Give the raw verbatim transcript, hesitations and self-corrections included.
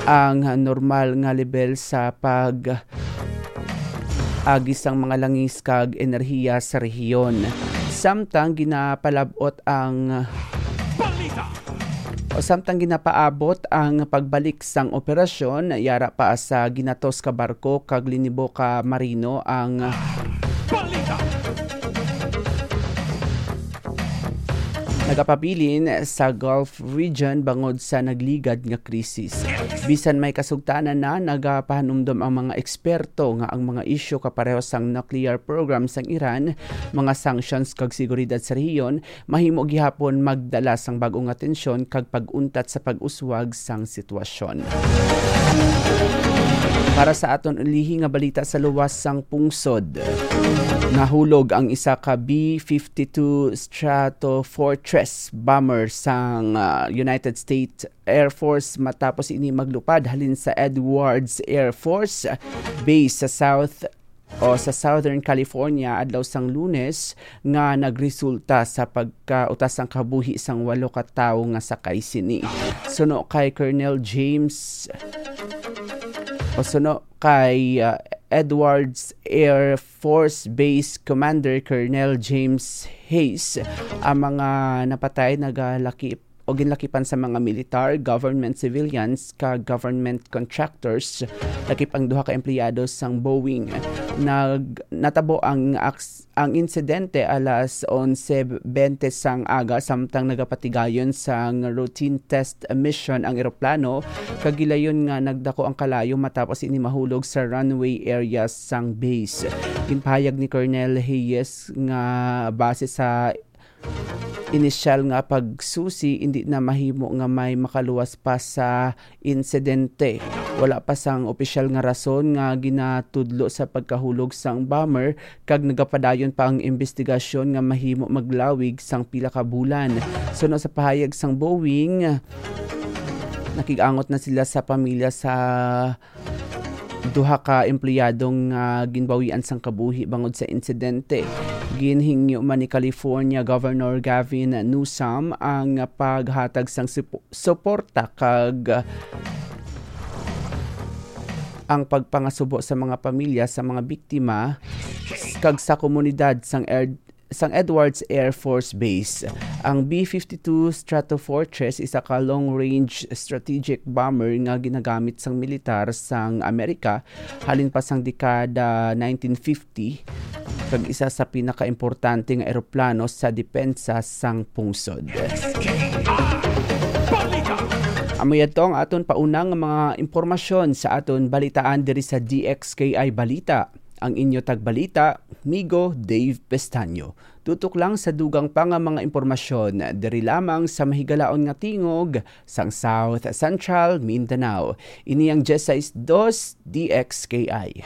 ang normal nga lebel sa pag-agi sang mga langis kag enerhiya sa rehiyon. Samtang ginapalab-ot ang Balita! O samtang ginapaabot ang pagbalik sang operasyon, yara pa sa ginatos ka barko kag linibo ka marino ang Balita! Nagapabilin sa Gulf region bangod sa nagligad nga krisis. Bisan may kasugtanan na, nagapahanumdom ang mga eksperto nga ang mga isyu kapareho sang nuclear program sang Iran, mga sanctions kag seguridad sa rehiyon mahimo gihapon magdala sang bag-o nga tensyon kag pag-untat sa pag-uswag sang sitwasyon. Para sa aton ulihi nga balita sa luwas sang pungsod, nahulog ang isa ka B fifty-two Stratofortress bomber sang, ah, United States Air Force matapos ini maglupad halin sa Edwards Air Force Base sa South o sa Southern California adlaw sang Lunes, nga nagresulta sa pagkautas sang kabuhi sang walo ka tawo nga sakay sini. Suno kay Colonel James, o suno kay, ah, Edwards Air Force Base Commander Colonel James Hayes, ang mga napatay nagalaki o ginlakipan sa mga militar, government civilians, kag government contractors, lakip ang duha ka empleyado sang Boeing. Nag-, natabo ang aks-, ang insidente alas onse bente sang aga, samtang nagapatigayon sang routine test mission ang eroplano, kag gilayon nga nagdako ang kalayo matapos ini mahulog sa runway area sang base. Ginpahayag ni Colonel Hayes nga base sa inisyal nga pagsusi, indi na mahimo nga may makaluwas pa sa insidente. Wala pa sang opisyal nga rason nga ginatudlo sa pagkahulog sang bomber, kag nagapadayon pa ang imbestigasyon nga mahimo maglawig sang pila ka bulan. Suno sa pahayag sang Boeing, nakig-angot na sila sa pamilya sa duha ka empleyado nga ginbawian sang kabuhi bangod sa insidente. Ginhingyo man ni California Governor Gavin Newsom ang paghatag sang supo-, suporta kag ang pagpangasubo sa mga pamilya sa mga biktima kag sa komunidad sang Air sang Edwards Air Force Base. Ang B fifty-two Stratofortress, isa ka long-range strategic bomber nga ginagamit sang militar sang Amerika halin pa sang dekada nineteen fifty, kag isa sa pinakaimportante nga eroplano sa depensa sang pungsod. Amo yadto ang aton pauna nga mga impormasyon sa aton balitaan diri sa D X K I Balita. Ang inyo tagbalita, Migo Dave Pestaño. Tutok lang sa dugang pa nga mga impormasyon diri lamang sa mahigalaon nga tingog sang South Central Mindanao. Ini ang diyes sais dos D X K I.